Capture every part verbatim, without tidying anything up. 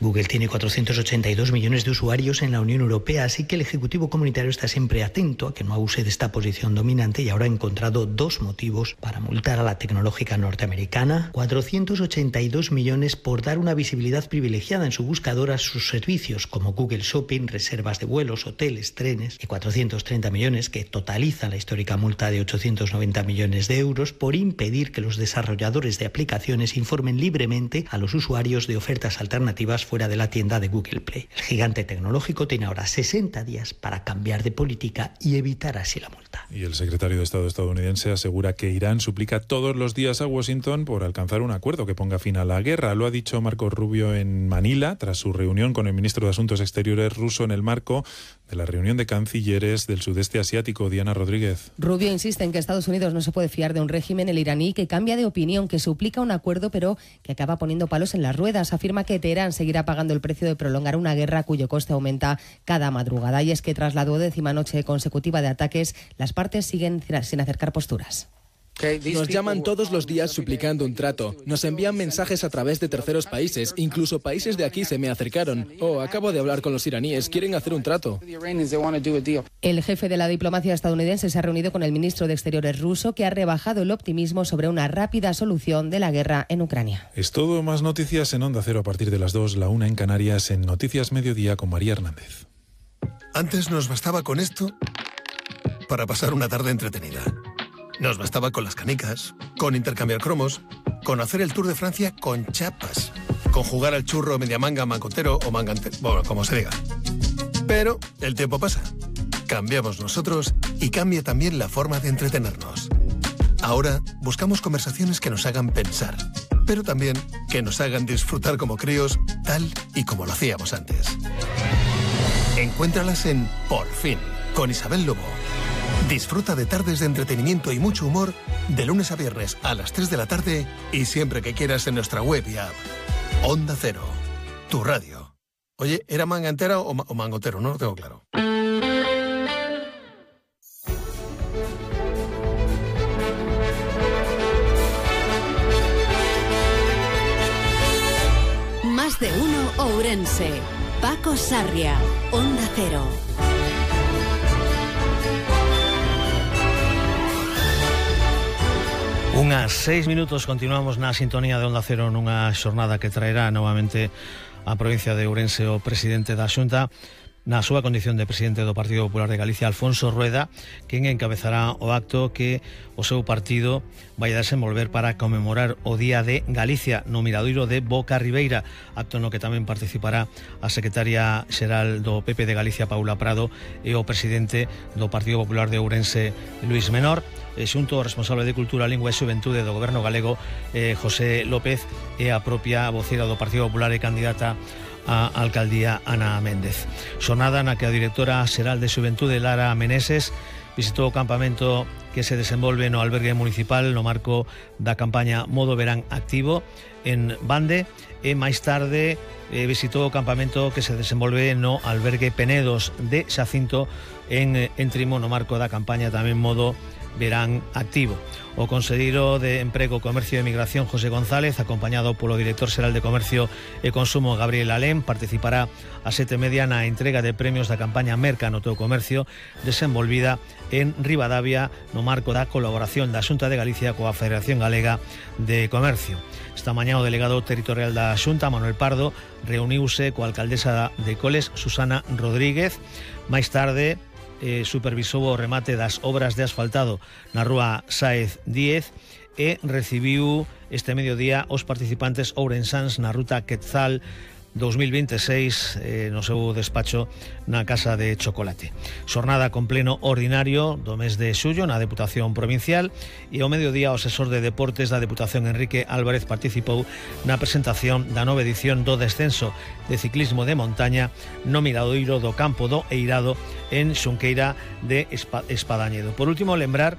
Google tiene cuatrocientos ochenta y dos millones de usuarios en la Unión Europea, así que el Ejecutivo Comunitario está siempre atento a que no abuse de esta posición dominante y ahora ha encontrado dos motivos para multar a la tecnológica norteamericana. cuatrocientos ochenta y dos millones por dar una visibilidad privilegiada en su buscador a sus servicios como Google Shopping, reservas de vuelos, hoteles, trenes, y cuatrocientos treinta millones que totaliza la histórica multa de ochocientos noventa millones de euros por impedir que los desarrolladores de aplicaciones informen libremente a los usuarios de ofertas alternativas fuera de la tienda de Google Play. El gigante tecnológico tiene ahora sesenta días para cambiar de política y evitar así la multa. Y el secretario de Estado estadounidense asegura que Irán suplica todos los días a Washington por alcanzar un acuerdo que ponga fin a la guerra. Lo ha dicho Marco Rubio en Manila tras su reunión con el ministro de Asuntos Exteriores ruso en el marco de la reunión de cancilleres del sudeste asiático. Diana Rodríguez. Rubio insiste en que Estados Unidos no se puede fiar de un régimen, el iraní, que cambia de opinión, que suplica un acuerdo pero que acaba poniendo palos en las ruedas. Afirma que Teherán seguirá pagando el precio de prolongar una guerra cuyo coste aumenta cada madrugada. Y es que tras la duodécima noche consecutiva de ataques, las partes siguen sin acercar posturas. Nos llaman todos los días suplicando un trato. Nos envían mensajes a través de terceros países. Incluso países de aquí se me acercaron. Oh, acabo de hablar con los iraníes. Quieren hacer un trato. El jefe de la diplomacia estadounidense se ha reunido con el ministro de Exteriores ruso, que ha rebajado el optimismo sobre una rápida solución de la guerra en Ucrania. Es todo. Más noticias en Onda Cero a partir de las dos, la una en Canarias, en Noticias Mediodía con María Hernández. Antes nos bastaba con esto para pasar una tarde entretenida. Nos bastaba con las canicas, con intercambiar cromos, con hacer el Tour de Francia con chapas, con jugar al churro mediamanga, mangotero o mangante, bueno, como se diga. Pero el tiempo pasa. Cambiamos nosotros y cambia también la forma de entretenernos. Ahora buscamos conversaciones que nos hagan pensar, pero también que nos hagan disfrutar como críos, tal y como lo hacíamos antes. Encuéntralas en Por Fin, con Isabel Lobo. Disfruta de tardes de entretenimiento y mucho humor de lunes a viernes a las tres de la tarde y siempre que quieras en nuestra web y app. Onda Cero, tu radio. Oye, ¿era mangantera o, ma- o mangotero? No lo tengo claro. Más de uno Ourense. Paco Sarria, Onda Cero. Unhas seis minutos, continuamos na sintonía de Onda Cero nunha xornada que traerá novamente a provincia de Ourense o presidente da Xunta na súa condición de presidente do Partido Popular de Galicia, Alfonso Rueda, quen encabezará o acto que o seu partido vai a desenvolver para conmemorar o Día de Galicia no Miradoiro de Boca Ribeira, acto no que tamén participará a secretaria xeral do P P de Galicia, Paula Prado, e o presidente do Partido Popular de Ourense, Luís Menor, e xunto ao responsable de Cultura, Lingua e Xuventude do Goberno galego, eh, José López, e a propia vocera do Partido Popular e candidata a alcaldía, Ana Méndez. Xornada na que a directora xeral de Xuventude, Lara Meneses, visitou o campamento que se desenvolve no albergue municipal no marco da campaña Modo Verán Activo en Bande, e máis tarde eh, visitou o campamento que se desenvolve no albergue Penedos de Xacinto en, en Trimo no marco da campaña tamén Modo Verán Activo. O conselleiro de Emprego, Comercio e Migración, José González, acompañado polo director xeral de Comercio e Consumo, Gabriel Alén, participará a sete e media na entrega de premios da campaña Merca no teu comercio, desenvolvida en Ribadavia no marco da colaboración da Xunta de Galicia coa Federación Galega de Comercio. Esta mañá o delegado territorial da Xunta, Manuel Pardo, reuniuse coa alcaldesa de Coles, Susana Rodríguez. Máis tarde Eh, supervisou o remate das obras de asfaltado na rúa Sáez Díez e recibiu este mediodía os participantes ourensáns na ruta Quetzal dos mil veintiséis eh, no seu despacho na Casa de Chocolate. Xornada con pleno ordinario do mes de xullo na Deputación Provincial, e ao mediodía o asesor de Deportes da Deputación, Enrique Álvarez, participou na presentación da nova edición do descenso de ciclismo de montaña no Miradoiro do Campo do Eirado en Xunqueira de Espadañedo. Por último, lembrar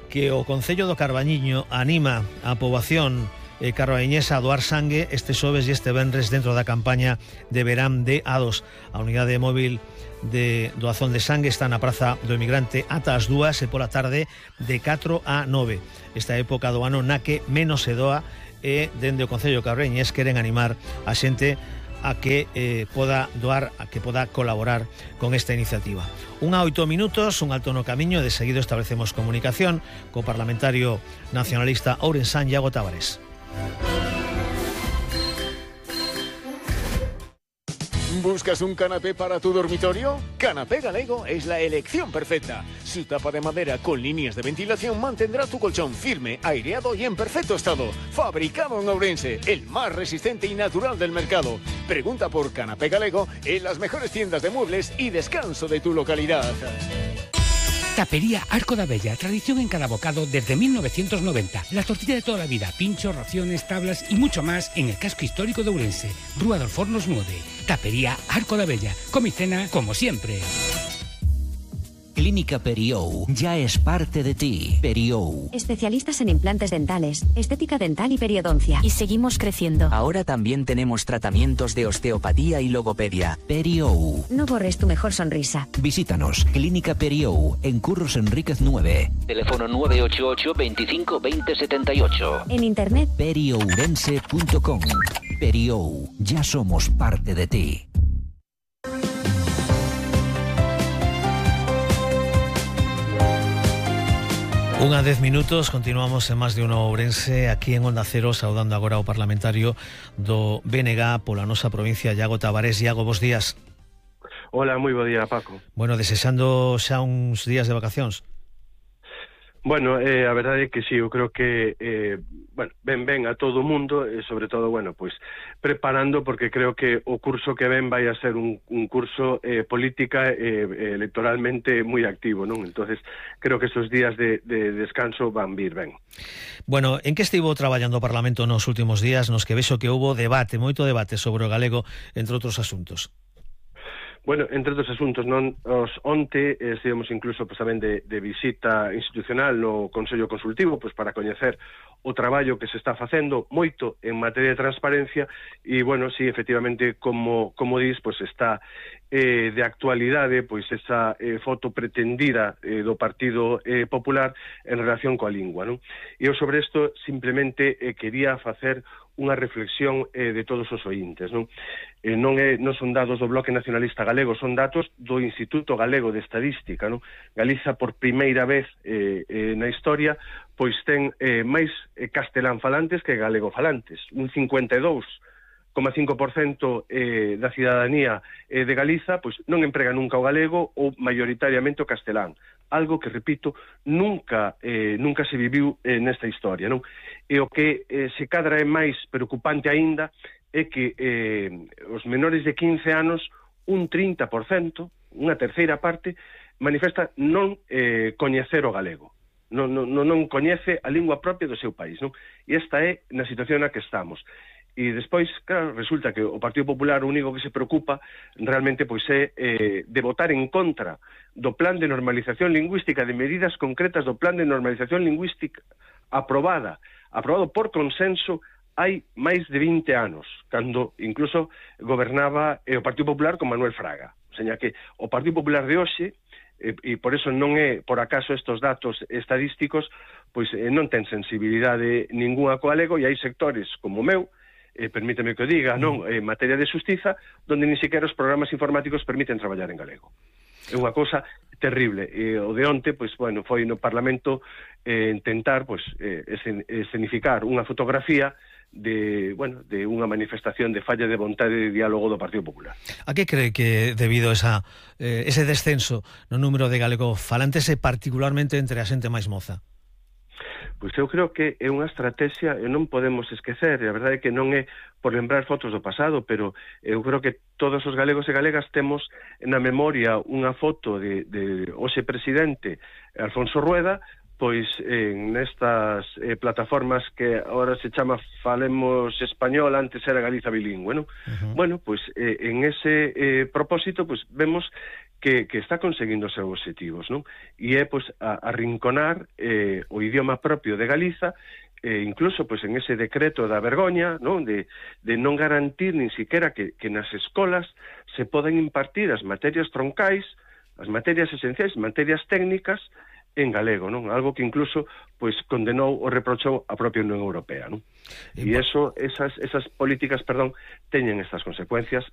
que o Concello do Carballiño anima a poboación eh, carballiñesa a doar sangue este xoves e este venres dentro da campaña de verán de A dos. A unidade móvil de doazón de sangue está na Praza do Emigrante ata as dúas e pola tarde de catro a nove. Esta época do ano na que menos se doa, e dende o Concello carballiñés queren animar a xente a que eh, poda doar, a que poda colaborar con esta iniciativa. Unha oito minutos, un alto no camiño, de seguido establecemos comunicación co parlamentario nacionalista ourensán Iago Tavares. ¿Buscas un canapé para tu dormitorio? Canapé Galego es la elección perfecta. Su tapa de madera con líneas de ventilación mantendrá tu colchón firme, aireado y en perfecto estado. Fabricado en Ourense, el más resistente y natural del mercado. Pregunta por Canapé Galego en las mejores tiendas de muebles y descanso de tu localidad. Tapería Arco da Bella, tradición en cada bocado desde mil novecientos noventa. La tortilla de toda la vida, pinchos, raciones, tablas y mucho más en el casco histórico de Ourense. Rúa dos Fornos nueve. Tapería Arco da Bella. Comicena como siempre. Clínica Periou ya es parte de ti. Periou. Especialistas en implantes dentales, estética dental y periodoncia. Y seguimos creciendo. Ahora también tenemos tratamientos de osteopatía y logopedia. Periou. No borres tu mejor sonrisa. Visítanos. Clínica Periou en Curros Enríquez nueve. Teléfono nueve ocho ocho, veinticinco, veinte, setenta y ocho. En internet periourense punto com. Periou. Ya somos parte de ti. Unha dez minutos, continuamos en Más de Uno Ourense, aquí en Onda Cero, saudando agora ao parlamentario do B N G pola nosa provincia, Iago Tavares. Iago, bos días. Hola, moi bo día, Paco. Bueno, desexando xa uns días de vacacións. Bueno, eh, a verdade é que sí, eu creo que eh, bueno, ben ben a todo o mundo e sobre todo, bueno, pois preparando, porque creo que o curso que ven vai a ser un, un curso eh, política e eh, electoralmente moi activo, non? Entonces, creo que esos días de, de descanso van vir ben. Bueno, en que estivo traballando o Parlamento nos últimos días, nos que vexo que houbo debate, moito debate sobre o galego, entre outros asuntos? Bueno, entre outros asuntos, non, os onte eh, estivemos incluso pues, tamén de, de visita institucional no Consello Consultivo pues, para coñecer o traballo que se está facendo moito en materia de transparencia e, bueno, sí, efectivamente, como, como dis, pues, está eh, de actualidade pois esa eh, foto pretendida eh, do Partido eh, Popular en relación coa lingua, non? E eu sobre isto simplemente eh, quería facer unha reflexión eh, de todos os ointes, non? Eh, non, é, non son dados do Bloque Nacionalista Galego, son datos do Instituto Galego de Estadística, non? Galiza, por primeira vez eh, eh, na historia, pois ten eh, máis eh, castelán falantes que galego falantes, un cincuenta e dous coma cinco por cento eh, da cidadanía eh, de Galiza pois non emprega nunca o galego ou maioritariamente o castelán, algo que, repito, nunca eh, nunca se viviu eh, nesta historia, non? E o que eh, se cadra é máis preocupante aínda é que eh, os menores de quince anos, un trinta por cento, unha terceira parte, manifesta non eh, coñecer o galego, non, non, non coñece a lingua propia do seu país, non? E esta é na situación na que estamos. E despois, claro, resulta que o Partido Popular o único que se preocupa realmente pois é eh, de votar en contra do plan de normalización lingüística, de medidas concretas do plan de normalización lingüística aprobada, aprobado por consenso hai máis de vinte anos, cando incluso gobernaba eh, o Partido Popular con Manuel Fraga. O sea, que o Partido Popular de hoxe, e, e por eso non é por acaso estos datos estadísticos, pois eh, non ten sensibilidade ninguna co galego, e hai sectores como o meu, eh, permíteme que o diga, non, en materia de xustiza, donde ni sequera os programas informáticos permiten traballar en galego. É unha cousa terrible. E o de onte, pois, bueno, foi no Parlamento eh, intentar, pois, eh, escenificar unha fotografía de, bueno, de unha manifestación de falla de vontade de diálogo do Partido Popular. A que cree que debido a esa, eh, ese descenso no número de galego falantes e particularmente entre a xente máis moza? Pois eu creo que é unha estrategia e non podemos esquecer, e a verdade é que non é por lembrar fotos do pasado, pero eu creo que todos os galegos e galegas temos na memoria unha foto de, de hoxe presidente Alfonso Rueda, pois en nestas eh, plataformas que agora se chama Falemos Español, antes era Galiza bilingüe, non? Uh-huh. Bueno, pois eh, en ese eh, propósito, pois vemos que, que está conseguindo os seus objetivos, non? E é, pois, a, a rinconar eh, o idioma propio de Galiza, eh, incluso, pois, en ese decreto da vergoña, non? De, de non garantir nin siquiera que, que nas escolas se poden impartir as materias troncais, as materias esenciais, materias técnicas, en galego, non? Algo que incluso pois condenou ou reprochou a propia Unión Europea, non? E eso, esas, esas políticas, perdón, teñen estas consecuencias, las